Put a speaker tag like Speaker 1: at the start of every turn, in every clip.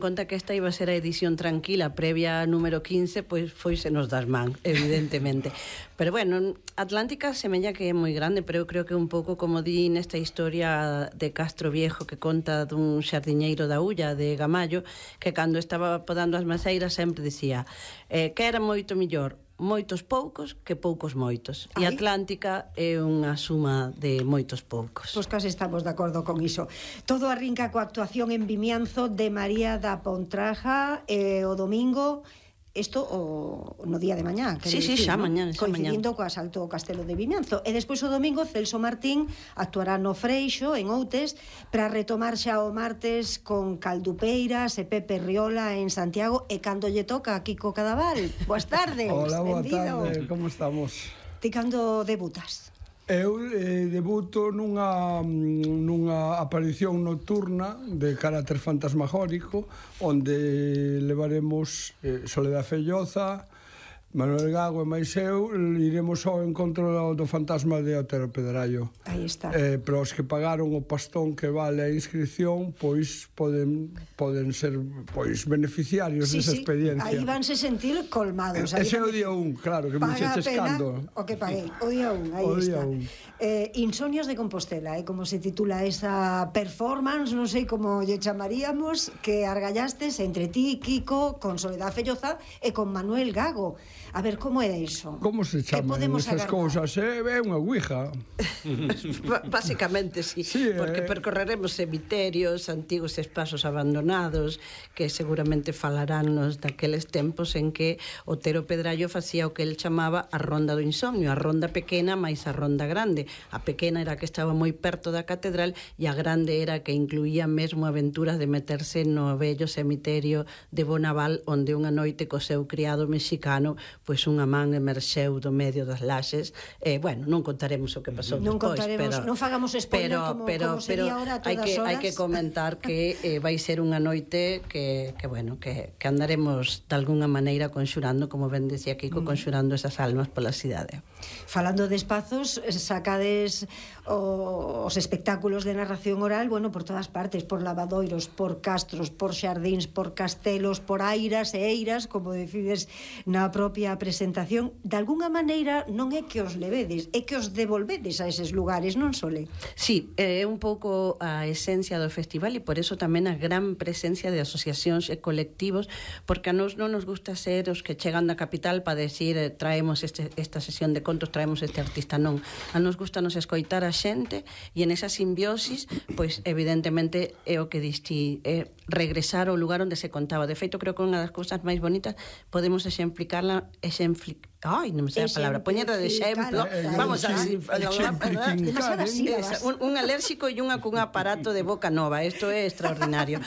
Speaker 1: Conta que esta iba a ser a edición tranquila previa a número 15, pois foisenos das man, evidentemente. Pero bueno, Atlántica semella que é moi grande, pero eu creo que un pouco como di nesta historia de Castro Viejo que conta dun xardiñeiro da Ulla de Gamallo, que cando estaba podando as maceiras sempre dicía que era moito millor moitos poucos que poucos moitos. E Atlántica é unha suma de moitos poucos.
Speaker 2: Pois case estamos de acordo con iso. Todo arrinca coa actuación en Vimianzo de María da Pontraja o domingo. Isto no día de mañá,
Speaker 1: sí, xa mañá,
Speaker 2: coincidindo co asalto ao Castelo de Vimianzo. E despois o domingo Celso Martín actuará no Freixo, en Outes, para retomar xa o martes con Caldupeiras e Pepe Riola en Santiago, e cando lle toca a Kiko Cadaval. Boas tardes.
Speaker 3: Hola, boa tarde, como estamos?
Speaker 2: Ti cando debutas?
Speaker 3: Eu debuto nunha aparición nocturna de carácter fantasmagórico, onde levaremos Soledad Felloza, Manuel Gago e máis eu, iremos ao encontro do fantasma de Otero Pedrallo.
Speaker 2: Aí está.
Speaker 3: Pero os que pagaron o pastón que vale a inscripción, pois poden ser beneficiarios desa experiencia.
Speaker 2: Aí vanse sentir colmados.
Speaker 3: Ese é o día 1, claro, que me xeches cando.
Speaker 2: O que paguei, o día 1, aí está. Insomnios de Compostela, como se titula esa performance, non sei como lle chamaríamos, que argallastes entre ti, Kiko, con Soledad Felloza e con Manuel Gago. A ver, como é iso?
Speaker 3: Como se chaman esas cousas? É unha ouija.
Speaker 1: Básicamente, sí, porque percorreremos cemiterios, antigos espazos abandonados, que seguramente falaránnos daqueles tempos en que Otero Pedrallo facía o que el chamaba a ronda do insomnio, a ronda pequena máis a ronda grande. A pequena era que estaba moi perto da catedral e a grande era que incluía mesmo aventuras de meterse no vello cemiterio de Bonaval, onde unha noite co seu criado mexicano pois unha man emerxeu do medio das laxes. Bueno, non contaremos o que pasou despois, pero
Speaker 2: non fagamos spoiler como sería ahora a todas horas.
Speaker 1: Hai que comentar que vai ser unha noite que andaremos de alguna maneira conxurando, como ben decía Kiko, conxurando esas almas pola cidade.
Speaker 2: Falando de espazos, sacades os espectáculos de narración oral, bueno, por todas partes, por lavadoiros, por castros, por xardíns, por castelos, por airas e eiras, como decides na propia presentación. De alguna maneira non é que os levedes, é que os devolvedes a eses lugares, non, Sole?
Speaker 1: Sí, é un pouco a esencia do festival e por eso tamén a gran presencia de asociacións e colectivos, porque a nos non nos gusta ser os que chegan da capital para decir traemos esta sesión de contos, traemos este artista, non. A nos gusta nos escoitar a xente e en esa simbiosis, pois evidentemente é o que diste, é regresar ao lugar onde se contaba. De feito, creo que unha das cousas máis bonitas podemos exemplificarla, non me sei a palabra, poñerla de exemplo, vamos a un alérxico e unha cun aparato de boca nova, isto é extraordinario.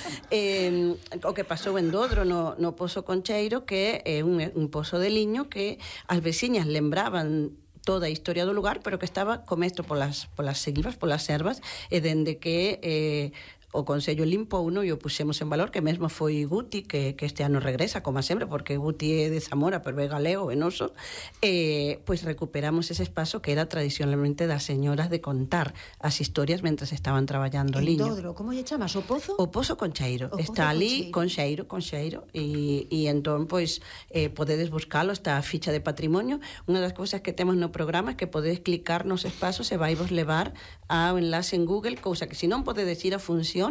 Speaker 1: O que pasou en Dodro no Pozo Concheiro, que é un pozo de liño que as veciñas lembraban toda a historia do lugar, pero que estaba comesto polas silvas, polas ervas, e dende que o Consello limpouno e o puxemos en valor, que mesmo foi Guti, que este ano regresa, como sempre, porque Guti é de Zamora, pero é galego, é noso, pois recuperamos ese espazo que era tradicionalmente das señoras de contar as historias mentres estaban traballando o liño.
Speaker 2: En Dodro, como lle chamas? O Pozo?
Speaker 1: O Pozo Concheiro. Está ali, Concheiro, e entón, pois, podedes buscalo, está a ficha de patrimonio. Unha das cousas que temos no programa é que podedes clicar nos espazos e vaivos levar ao enlace en Google, cousa que se non podedes ir a función,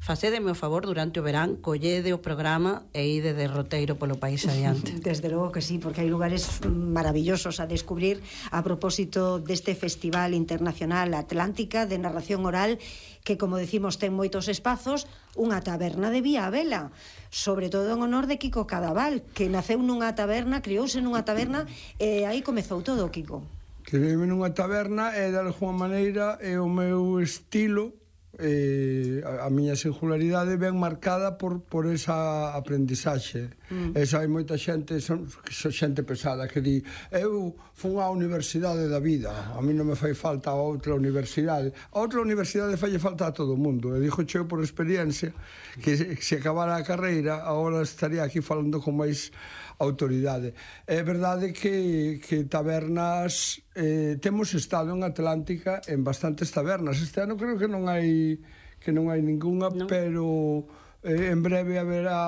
Speaker 1: facédeme o favor durante o verán, collede o programa e ide de roteiro polo país adiante.
Speaker 2: Desde logo que sí, porque hai lugares maravillosos a descubrir a propósito deste Festival Internacional Atlántica de Narración Oral, que, como decimos, ten moitos espazos, unha taberna de Vía Vela, sobre todo en honor de Kiko Cadaval, que naceu nunha taberna, criouse nunha taberna, e aí comezou todo, Kiko.
Speaker 3: Crioume nunha taberna e, de alguma maneira, é o meu estilo, a miña singularidade ben marcada por esa aprendizaxe. Esa hai moita xente, xente pesada, que di eu fun á universidade da vida, a mí non me fai falta a outra universidade. A outra universidade fai falta a todo o mundo, e dixo cheo por experiencia que se acabara a carreira agora estaría aquí falando con máis autoridade. É verdade que tabernas temos estado en Atlántica en bastantes tabernas. Este ano creo que non hai ningunha, pero en breve haberá